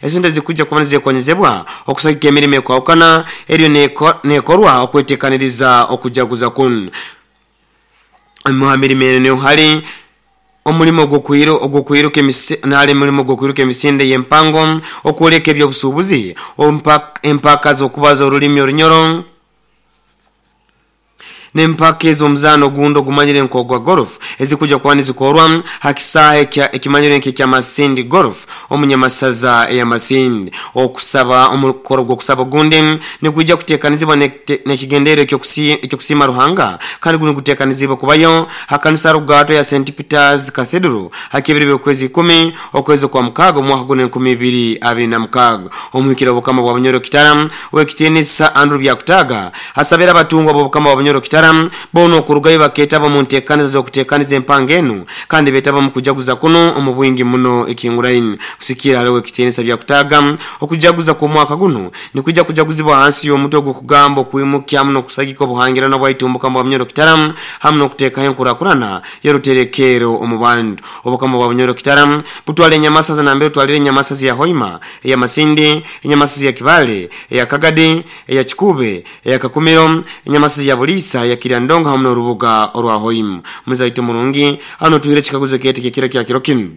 Esente zikujja kuba nizekonyezebwa okusagika emirimo ekwahukana eriyo nekorwa okwetekaniriza okujaguza kunu. Omu ha mirimo enu niho hali omulimo ogw'okwiruka emisinde y'empango, okwoleka eby'obusuubuzi, empaka z'okubaza orulimi Orunyoro, n'empaka ez'omuzaano ogundi ogumanyire nk'ogwa golf ezikujja kuba nizikorwa ha kisaahe ekimanyirwe nk'ekya Masindi Golf omu Nyamasaza eya Masindi. Okusaba omukoro gw'okusaba ogundi nigwija kuteekanizibwa n'ekigendererwa eky'okusiima Ruhanga kandi gunu guteekaniziibwe kubayo ha kanisa rugaato ya St Peter's Cathedral ha kibiri by'okwezi ikumi okwezi okwa mukaaga omwaka guno 2026. Omuhikire w'Obukama bwa Bunyoro Kitara Owekitiinisa Andrew Byakutaaga asabire abatungwa b'Obukama bwa Bunyoro Kitara boona okurugayo bakeetaba omu nteekaniza z'okuteekaniza empango enu kandi beetaba omu kujaguza kunu omu bwingi muno ekihinguraine. Kusikiira hali Owekitiinisa Byakutaaga, okujaguza kw'omwaka gunu nikwija kujaguzibwa hansi y'omutwe ogw'okugamba okwimukya hamu n'okusagika obuhangirana bwaitu omu Bukama bwa Bunyoro Kitara hamu n'okuteekaho enkurakurana y'oruterekeero omu bantu. Obukama bwa Bunyoro Kitara butwara enyamasaza nambere otwalire enyamasaza eya Hoima, eya Masindi, enyamasaza eya Kibale, eya Kagadi, eya Kikuube, eya Kakumiro, enyamasaza eya Buliisa, eya Kiryandongo hamu n'orubuga orwa Hoima. Muzaito murungi, hanu otuhaire ekikaguzo kyaitu eky'ekiro kya kiro kinu.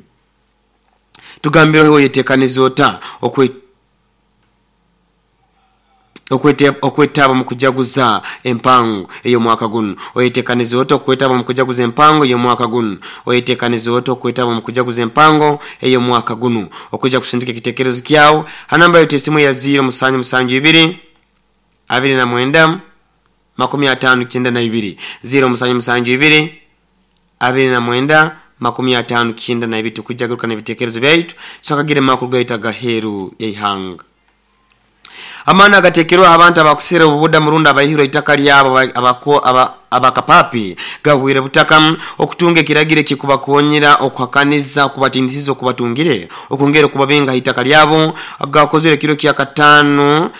Tugambire ohe oyetekaniza ota okwetaba omu kujaguza empango ey'omwaka gunu? Oyetekaniza ota okwetaba omu kujaguza empango ey'omwaka gunu? Oyetekaniza ota okwetaba omu kujaguza empango ey'omwaka gunu? Okwija kusindika ekitekerezo kyawe ha namba yaitu esimu eya ziiro musanju musanju ibiri abiri na mwenda makumi ataano kyenda na ibiri, ziiro musanju musanju ibiri 29 52. Tukwija garuka n'ebitekerezo byaitu tutakagire mu makuru gaitu agaheeru y'eihanga. Amaani agateekerweho abantu abakuseera obubudamu rundi abaihirwe eitaka lyabo abakapaapi gahwire butaka okutunga ekiragiro ekikubakonyera okuhakaniza okubatinisiza okubatungire okwongera okubabinga ha itaka lyabo gakozirwe ekiro kyakataano.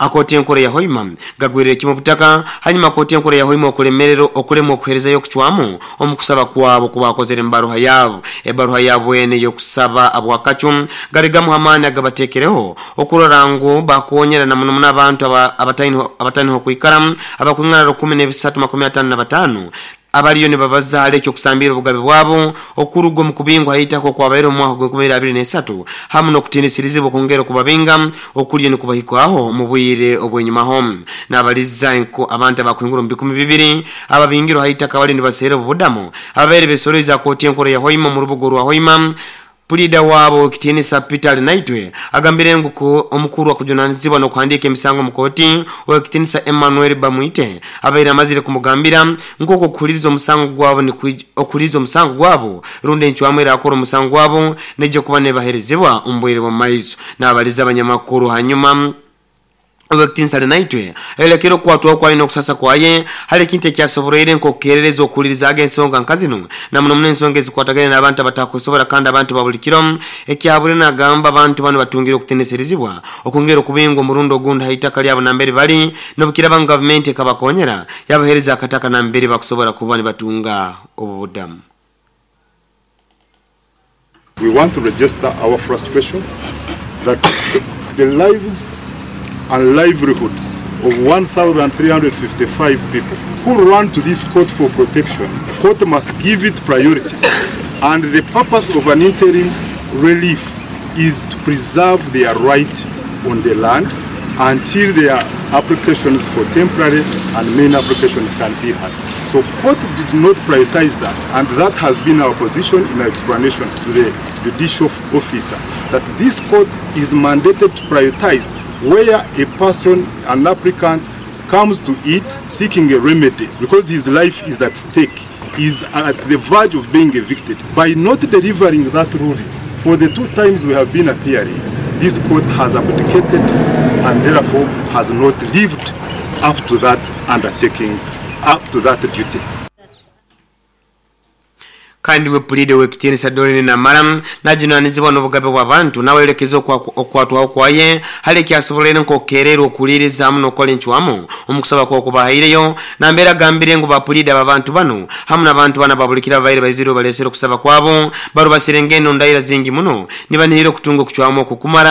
Akooti Enkuru eya Hoima gagwirire kimwe obutaka hanyuma Kooti Enkuru eya Hoima okulemererwa okulemwa okuherezayo okucwamu omu kusaba kwabo oku baakozere mu baruha yaabo. Ebaruha yaabo enu ey'okusaba abwakacu gali gamu h'amaani agabateekereho okurora ngu bakoonyera na muno muno abantu abataine h'okwikara abakwingana rukumi n'ebisatu makumi ataano na bataano abaliyo nibabaza hali eky'okusambiira obugabe bwabo okuruga omu kubingwa ha itaka okwabaire omu mwaka gw'enkumi ibiri abiri n'esatu hamu n'okutiinisirizibwa okwongera okubabinga okuliyo nikubahikwaho omu bwire obw'enyumaho. Nabaliza nko abantu abakuhingura omu bikumi bibiri ababingirwe ha itaka abaliyo nibaseera obubudamu ababaire besoroize aha kooti enkuru eya Hoima omu rubuga orwa Hoima. Puliida waabo ow'ekitiinisa Peter Arinaitwe agambire ngu ku omukuru akujunanizibwa n'okuhandiika emisango omu kooti ow'ekitiinisa Emmanuel Bamwite abaire amazire kumugambira nk'oku okuhuliriza omusango gwabo okuhuliriza omusango gwabo rundi encwamu erakora omusango gwabo neija kuba nebaherezebwa omu bwire bw'omumaiso. Nabaliza abanyamakuru hanyuma Ow'ekitiinisa Arinaitwe ayolekere okukwatwaho kwaye n'okusasa kwaye hali ekintu ekyasoboroire nk'okukerereza okuhulirizaaga ensonga nka zinu, na muno muno ensonga ezikwatagaine n'abantu abatakwesobora kandi abantu ba buli kiro. Ekyahabwire nagamba abantu banu batungire okutinisirizibwa okwongera okubingwa omurundi ogundi ha itaka lyabo nambere bali nobukiraba ngu gavumenti ekabakonyera yabahereza akataka nambere bakusobora kuba nibatunga obubudamu. We want to register our frustration that the lives and livelihoods of 1,355 people who run to this court for protection, court must give it priority. And the purpose of an interim relief is to preserve their right on the land until their applications for temporary and main applications can be heard. So court did not prioritize that, and that has been our position in our explanation to the judicial officer, that this court is mandated to prioritize where a person, an applicant, comes to it seeking a remedy because his life is at stake, is at the verge of being evicted. By not delivering that ruling, for the 2 times we have been appearing, this court has abdicated and therefore has not lived up to that undertaking, up to that duty. Kandi we Puliida Ow'ekitiinisa Doreen Namara najunanizibwa n'obugabe bw'abantu nawe ayolekeze okukwatwaho kwaye hali ekyasoboroire nk'okukererwa okuhuliiriza hamu n'okukora encwamu omu kusaba kwawe okubahaireyo nambere agambire ngu ba Puliida b'abantu banu hamu n'abantu banu ababulikire ababaire baizire balesere okusaba kwabo barubasire engendo ndaira zingi muno nibanihira okutunga okucwamu okukumara.